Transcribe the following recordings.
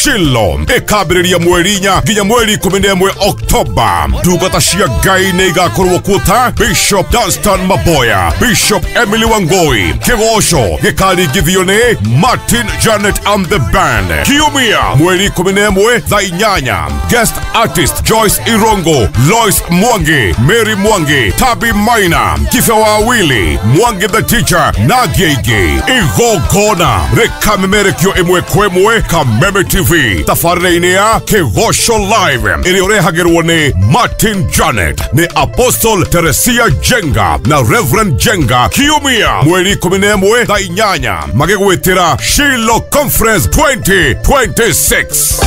Shilo ĩkambĩrĩria mweri 4 nginya mweri 11 Oktoba. Ndungata cia Ngai nĩ igakorwo kuo ta Bishop Dunstan Maboya, Bishop Emily Wangoi, kĩgoco gĩkaringithio nĩ Martin Janet and the Band. Kiumia mweri 11 thaa 8, guest artist Joyce Irongo, Lois Mwangi, Mary Mwangi, Tabi Maina, Kife Wawili, Mwangi the Teacher na Gigi. Igongona rĩkamemerekio ĩmwe kwa ĩmwe Kameme TV tabarĩra-inĩ ya Kĩgoco Live ĩrĩa ũrehagĩrwo nĩ Martin Janet, nĩ Apostle Teresia Jenga na Reverend Jenga. Kiumia mweri 11 thaa 8 magĩgwĩtĩra Shilo Conference 2026.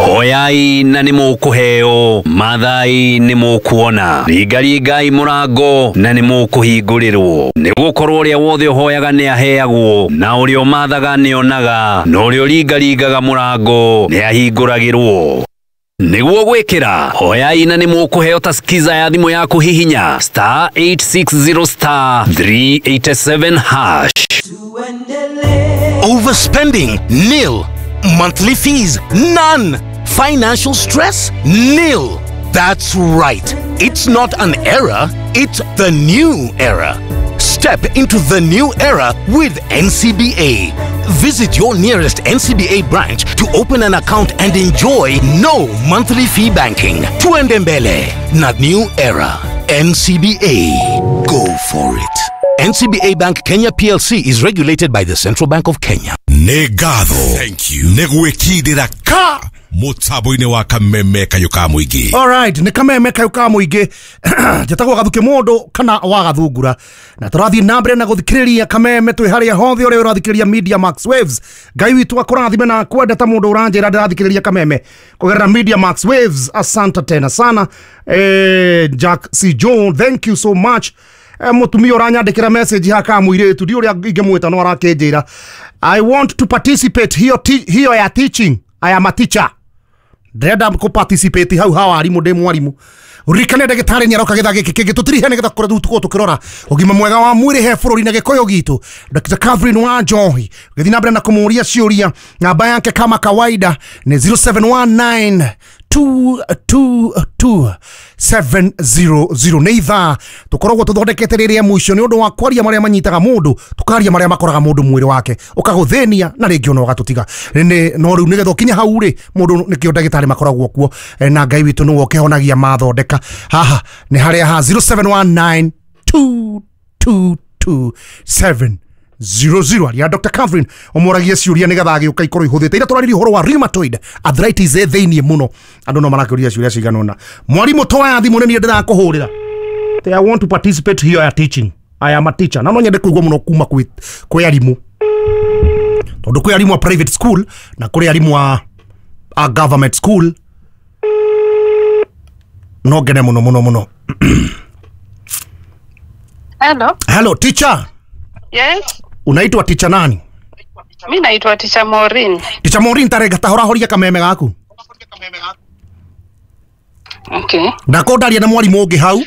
Oyai na nĩ mũkũheo, mathai nĩ mũkuona, ringaringai mũrango na nĩ mũkũhingũrĩrwo. Nĩ gũkorwo ũrĩa wothe ũhoyaga nĩ aheagwo, na ũrĩa ũmathaga nĩ onaga, na ũrĩa ũringaringaga mũrango nĩ ahingũragĩrwo. Nĩguo gwĩkĩra hoyai na nĩ mũkũheo ta skiza ya thimũ yaku, hihinya star 860 star 387 hash. Overspending? Nil. Monthly fees? None. Financial stress? Nil. That's right. It's not an era, it's the new era. Step into the new era with NCBA. Visit your nearest NCBA branch to open an account and enjoy no monthly fee banking. Tuende mbele na new era. NCBA. Go for it. NCBA Bank Kenya PLC is regulated by the Central Bank of Kenya. Nĩ ngatho nĩ gwĩkindĩra ka mũtambo-inĩ wa Kameme kayũ ka mũingĩ. Alright, nĩ Kameme kayũ ka mũingĩ. Njĩtagwo Gathuke mũndũ kana wa Gathungura, na tũrathiĩ na mbere na gũthikĩrĩria Kameme twĩ harĩa hothe ũrĩa ũrathikĩrĩria Media Max Waves. Ngai witũ akũrathime na kwenda ta mũndũ ũranjĩra ndĩrathikĩrĩria Kameme kũgerera Media Max Waves. Asante tena sana. Jack C John, thank you so much. Mũtumia ũranyandĩkĩra message haka mũirĩtu ndi ũrĩa ingĩmwĩta no arakĩnjĩra I want to participate hiyo, hiyo ya teaching. I am a teacher, ndĩrenda kũ participate hau ha warimũ, ndĩ mwarimũ. Ririkane ndagĩtarĩ nĩ aroka gĩthaa gĩkĩ kĩngĩ tũtirihe nĩgetha kũrĩa tũkorwo tũkĩrora ũgima mwega wa mwĩrĩ he bũrũri na gĩkũyũ gitũ. Dr. Catherine wa Njohi gĩthiĩ na mbere na kũmũria ciũria. Namba yake kama kawaida nĩ 0719 222 700. Nĩ ithaa tũkoragwo tũthondekete rĩrĩa mũico nĩ ũndũ wa kwaria marĩa manyitaga mũndũ, tũkaria marĩa makoraga mũndũ mwĩrĩ wake ũkagũthĩnia na rĩngĩ ona ũgatũtiga. No rĩu nĩgetha ũkinye hau rĩ mũndũ nĩkĩo ndagĩtarĩ makoragwo kuo, na Ngai witũ nĩwe ũkĩhonagia mathondeka. Haha nĩ harĩa ha 0719 222 700 aria Dr. Catherine ũmũragie ciũria nĩgetha agĩũka ikorwo ihũthĩte. Ira tũraririe ũhoro wa rheumatoid arthritis ĩ thĩiniĩ mũno, andũ no marakĩũria ciũria cigana ũna. Mwarimũ toya thimũ nĩ niĩ ndĩrakũhũrĩra. I want to participate here ya teaching. I am a teacher. Na no nyende kũigua mũno kuma kwĩ arimũ, tondũ kwĩ arimũ a private school na kũrĩ arimũ a government school. No ngene mũno mũno mũno. Hello. Hello teacher. Yes. Unaitwa teacher nani? Mimi naitwa Teacher Maureen. Teacher Maureen, tarega tahorahoria kameme gaku. Okay. Ndako ndaria na mwarimu ũngĩ hau.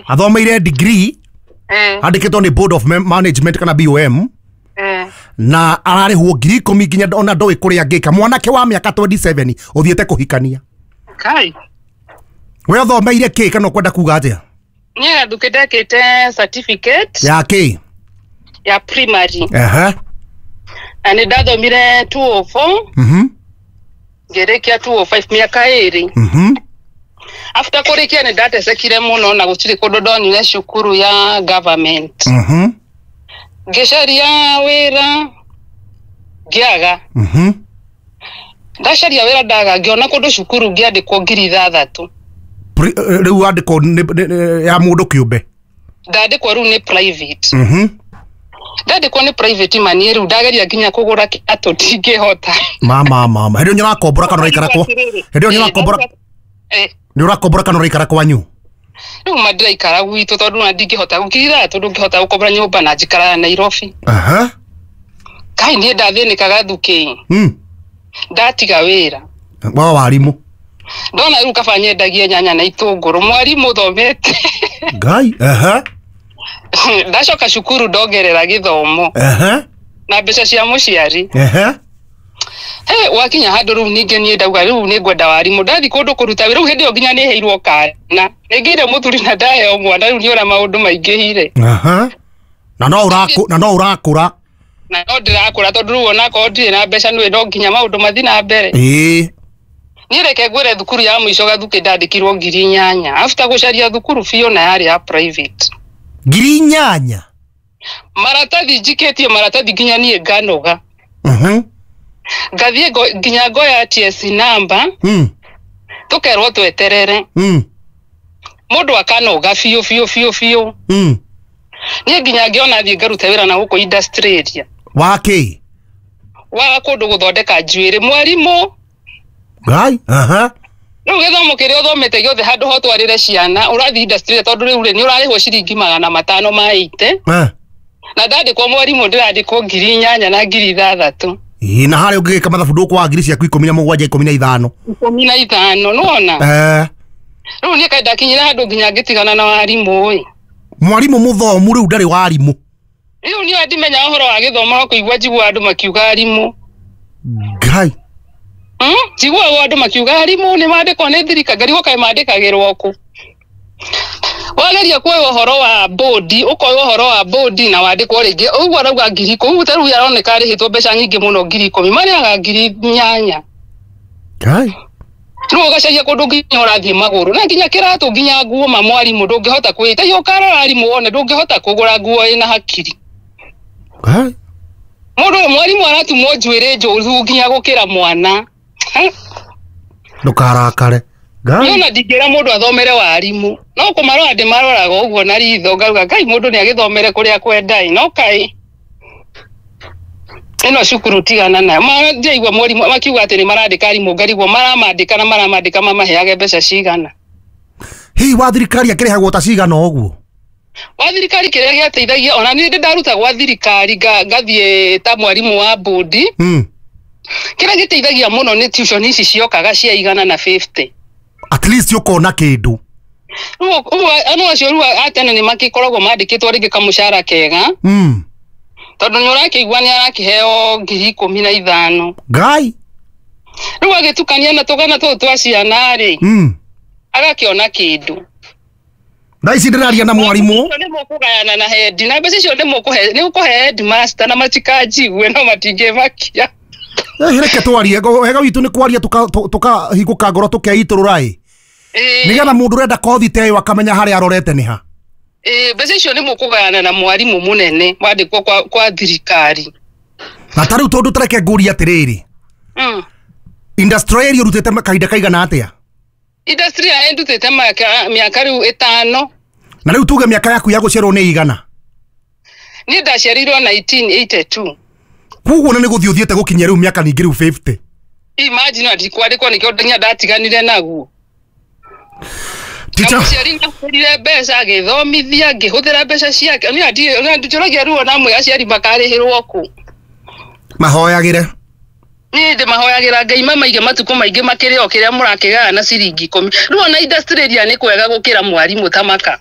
Athomeire degree. Andĩkĩtwo nĩ Board of Management kana BOM. Na ararĩhwo 10,000 nginya ona ndoĩ kũrĩa angĩka. Mwanake wa mĩaka 27 ũthiĩte kũhikania. Kai. We ũthomeire kĩ kana ũkwenda kuga atĩa? Niĩ Gathuke ndekĩte certificate ya kĩ? Ya primary. Na nĩ ndathomire 204. Ngĩrĩkia 205 mĩaka 2. After kũrĩkia nĩ ndatecekire mũno na gũtirĩ kũndũ ndonire cukuru ya government. Ngĩcaria wĩra ngĩaga. Ndacaria wĩra ndaga, ngĩona kũndũ cukuru ngĩandĩkwo 6,000. Rĩu wandĩkwo ya mũndũ kĩũmbe? Ndandĩkwo rĩu nĩ private. Ndandĩkwo nĩ private mani rĩu ndageria nginya kũgũra kĩratũ ndingĩhota. Mama mama, hĩndĩ ĩyo nĩũrakombora kana ũraikara kwa? Hĩndĩ ĩyo nĩũrakombora? Nĩũrakombora kana ũraikara kwanyu? Rĩu ma ndĩraikara gwitũ tondũ na ndingĩhota 6,000 ndũngĩhota gũkombora nyũmba na njikaraga Nairobi. Kai niĩ ndathĩnĩkaga Gathuke. Ndatiga wĩra. Wa warimũ. Ndona rĩu kaba nyendagie nyanya na itũngũrũ, mwarimũ thomete. Ngai. Ndacoka cukuru ndongerera gĩthomo. Na mbeca cia mũciari. He wakinya handũ rĩu ningĩ niĩ ndauga rĩu nĩ ngwenda warimũ ndathi kũndũ kũruta wĩra rĩu hĩndĩ ĩyo nginya nĩ heirwo kana nĩngĩire mũthuri na ndaheo mwana rĩu nĩ ũrĩa maũndũ maingĩhire. Aha. Na no ũrakũra. Na no ndĩrakũra tondũ rĩu onakorwo ndirĩ na mbeca nĩ no nginya maũndũ mathiĩ na mbere. Ĩĩ. Niĩ reke ngwĩre thukuru ya mũico Gathukĩ ndandĩkirwo 8,000 after gũcaria thukuru biũ na yarĩ ya private. 8,000? Maratathi njikĩtie maratathi nginya niĩ nganoga. Ngathiĩ nginya ngoya TSC number. Tũkerwo tweterere. Mũndũ akanoga biũ biũ biũ biũ. Niĩ nginya ngĩona thiĩ ngaruta wĩra na gũkũ industry area. Wa kĩ? Wa kũndũ gũthondeka njuĩrĩ mwarimũ. Ngai. Aha. Rĩu gĩthomo kĩrĩa ũthomete gĩothe handũ ho twarĩre ciana ũrathiĩ industry tondũ rĩu rĩ nĩ ũrarĩhwo ciringi 580. Na ndandĩkwo mwarimũ ndĩrandĩkwo 8,000 na 6,000. Ĩĩ na harĩa ũngĩgĩka mathabu ndũkwaga ngiri ciaku 17 15. 15 nĩwona? Rĩu niĩ kaĩ ndakinyire handũ nginya ngĩtigana na warimũ ĩ. Mwarimũ mũthomu rĩu ndarĩ warimũ. Rĩu niĩ ndimenya ũhoro wa gĩthomo no kũigua njiguaga andũ makiuga arimũ. Ngai. Njiguaga andũ makiuga arimũ nĩ mandĩkwo nĩ thirikari ngarigwo kaĩ mandĩkagĩrwo kũ. Wageria kuoya ũhoro wa bodi ũkoya ũhoro wa bodi na wandĩkwo rĩngĩ ũguo arauga 10,000 ũguo ta rĩu aroneka arĩhĩtwo mbeca nyingĩ mũno 10,000 marĩhaga 8,000. Ngai. Rĩu ũgacaria kũndũ nginya ũrathiĩ magũrũ na nginya kĩratũ nginya nguo ma mwarimũ ndũngĩhota kwĩta iyo ũkarora arimũ wone ndũngĩhota kũgũra nguo ĩna hakiri. Ngai. Mũndũ mwarimũ aratumwo njuĩrĩ njũru nginya gũkĩra mwana. Ndũkarakare. Ngai. Na ndingĩra mũndũ athomere warimũ no kũmarora ndĩmaroraga ũguo na ritho ngauga Ngai mũndũ nĩ agĩthomere kũrĩa kwendai no kaĩ ĩno cukuru tigana nayo. Ndiaigua mwarimũ makiuga atĩ nĩ marandĩka arimũ ngarigwo maramandĩka na maramandĩka mamaheage mbeca cigana. Hihi wa thirikari akĩrĩhagwo ta cigana ũguo? Wa thirikari kĩrĩa gĩateithagia ona niĩ ndĩ ndaruta gwa thirikari ngathiĩ ta mwarimũ wa bodi. Kĩrĩa gĩteithagia mũno nĩ tuition ici ciokaga cia 150. At least ũkona kĩndũ. Rĩu acio rĩu a tene nĩ makĩkoragwo mandĩkĩtwo rĩngĩ kamũcara kega. Tondũ nĩ ũrakĩigua nĩ arakĩheo 15,000. Ngai. Rĩu agĩtukania na tũgana tũtũ twa ciana rĩ. Agakĩona kĩndũ. Thaa ici ndĩraria na mwarimũ. Nĩ mũkũgayana na head na mbeca icio nĩ mũkũhe headmaster na matikanjigue no matingĩmakia. Reke twarie wega witũ nĩ kwaria tũkahingũka ngoro tũkeitũrũra ĩ. Nĩgetha mũndũ ũrenda kothi ta ĩyo akamenya harĩa arorete nĩ ha. Mbeca icio nĩ mũkũgayana na mwarimũ mũnene wandĩkwo kwa thirikari. Na ta rĩu tondũ tareke ngũrie atĩrĩrĩ. Industry area ũrutĩte kahinda kaigana atĩa? Industry area ndutĩte mĩaka rĩu 5. Na rĩu tuge mĩaka yaku ya gũciarwo nĩ igana? Niĩ ndaciarirwo 1982. Koguo na nĩ gũthiĩ ũthiĩte gũkinyia rĩu mĩaka ningĩ rĩu 50. Imagine ndikwandĩkwo nĩkĩo nginya ndatiganire naguo. Mũciari nĩahũthĩrire mbeca agĩthomithia ngĩhũthĩra mbeca ciake. Niĩ njũragia ruo na amwe aciari makarĩhĩrwo kũ. Mahoyagĩre. Niĩ ndĩmahoyagĩra Ngai mamaige matukũ maingĩ makĩrĩ o kĩrĩa mũrakĩgaya na ciringi 10. Rĩu ona industry area nĩ kwega gũkĩra mwarimũ ta maka.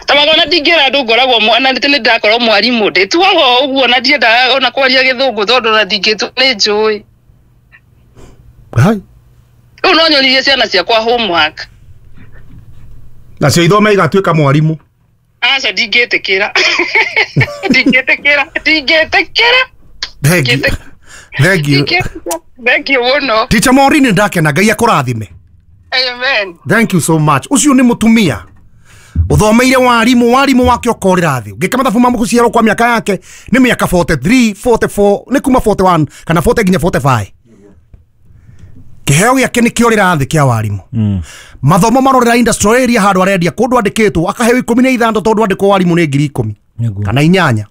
Tamaka ona ndingĩra andũ ngoragwo mwana nĩ ndakorwo mwarimũ ndĩtuaga ũguo na ndiendaga ona kwaria gĩthũngũ tondũ ona ndingĩtua nĩ njũĩ. Ngai. Rĩu no nyonirie ciana ciakwa homework. Nacio ithome igatuĩka mwarimũ. Aca ndingĩtĩkĩra. Ndingĩtĩkĩra. Ndingĩtĩkĩra. Thank you. Thank you. Thank you mũno. Teacher Maureen ndakena Ngai akũrathime. Amen. Thank you so much. Ũcio nĩ mũtumia ũthomeire warimũ warimũ wake ũkorĩra thĩ. Ũngĩka mathabu ma gũciarwo kwa mĩaka yake nĩ mĩaka 43, 44, nĩ kuma 41 kana 40 nginya 45. Kĩheo gĩake nĩ kĩorĩra thĩ kĩa warimũ. Mathomo marorera industry area handũ arendia kũndũ andĩkĩtwo akaheo 16 tondũ andĩkwo warimũ nĩ 10,000 kana 8.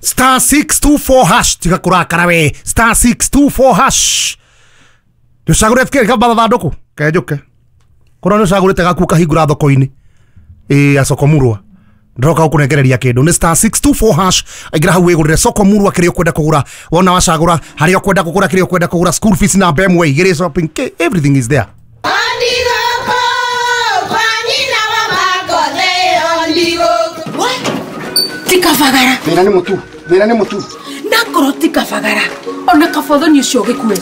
Star 624 hash tiga kũrakara we. Star 624 hash. Nĩũcagũre FK kamba thandũkũ kenjũke. Korwo nĩũcagũrĩte gaku ũkahingũra thoko-inĩ. Ĩĩ soko murwa. Ndĩroka gũkũnengereria kĩndũ nĩ star 624 hash. Aingĩra hau wĩgũrĩre soko murwa kĩrĩa ũkwenda kũgũra. Wona wacagũra harĩa ũkwenda kũgũra kĩrĩa ũkwenda kũgũra school fees na BMW igĩrĩ shopping everything is there. Ti kabagara. Thĩna nĩ mũtu. Thĩna nĩ mũtu. Nakorwo ti kabagara. Ona kabothoni ũcio gĩkue.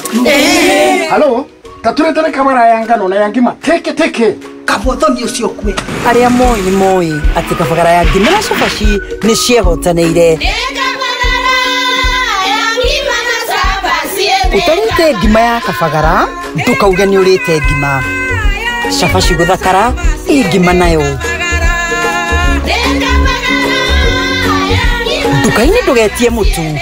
Halo, taturetere kabara ya ngano na ya ngima. Teke teke. Kabothoni ũcio kue. Arĩa moĩ nĩ moĩ atĩ kabagara ya ngima na cabaci nĩ ciehotanĩire. Ũtarĩte ngima ya kabagara ndũkauge nĩ ũrĩte ngima. Cabaci gũthakara ĩ ngima nayo. Nduka-inĩ ndũgetie mũtu.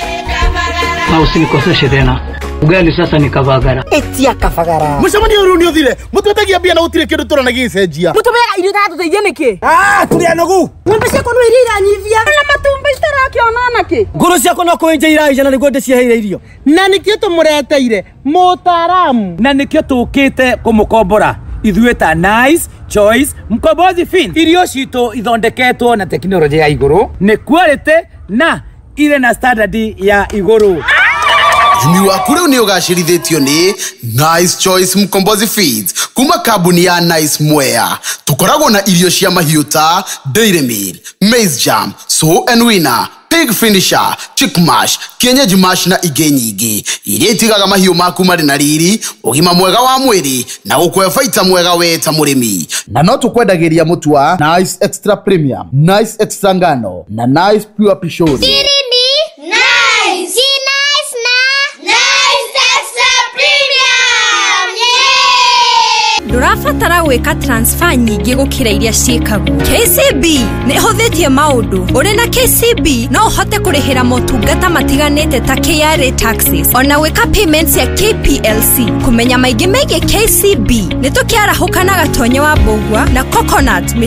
Na usinikoseshe tena. Ugali sasa ni kabagara. Etia kabagara. Mũcemanio ũyũ nĩ ũthire. Mũtwetagia mbia na gũtirĩ kĩndũ tũrona gĩgĩcenjia. Mũtũmeaga irio itatũteithia nĩkĩ? Ah, tũrĩ anogu. Ng'ombe ciakwa no iria iranyivia. Na matumbĩ citarakĩona nakĩ? Ngũrũ ciakwa no kũenja iraija na nĩguo ndĩciheire irio. Na nĩkĩo tũmũreteire mũtaaramu. Na nĩkĩo tũkĩte kũmũkombora. Ithuĩ ta Nice Choice Mkombozi Fin. Irio citũ ithondeketwo na tekinoronjĩ ya igũrũ, nĩ quality na irĩ na standard ya igũrũ. Ũrĩmi waku rĩu nĩ ũgacĩrithĩtio nĩ Nice Choice Mkombozi Feeds kuma kambuni ya Nice Mwea. Tũkoragwo na irio cia mahiũ ta Dairy Meal, Maize Jam, Sow and Winner, Pig Finisher, Chick Mash, Kienyeji Mash na ingĩ nyingĩ iria itigaga mahiũ maku marĩ na riri, ũgima mwega wa mwĩrĩ na gũkũhe baita mwega we ta mũrĩmi. Na no tũkwendagĩria mũtu wa Nice Extra Premium, Nice Extra Ngano na Nice Pure Pishori. Ndũrabatara gwĩka transfer nyingĩ gũkĩra iria ciĩkagwo. KCB nĩ ĩhũthĩtie maũndũ. Ũrĩ na KCB no ũhote kũrĩhĩra motungata matiganĩte ta KRA taxes ona gwĩka payments ya KPLC. Kũmenya maingĩ megiĩ KCB nĩ tũkĩarahũka na Gatonye wa Mbũgua na Coconut.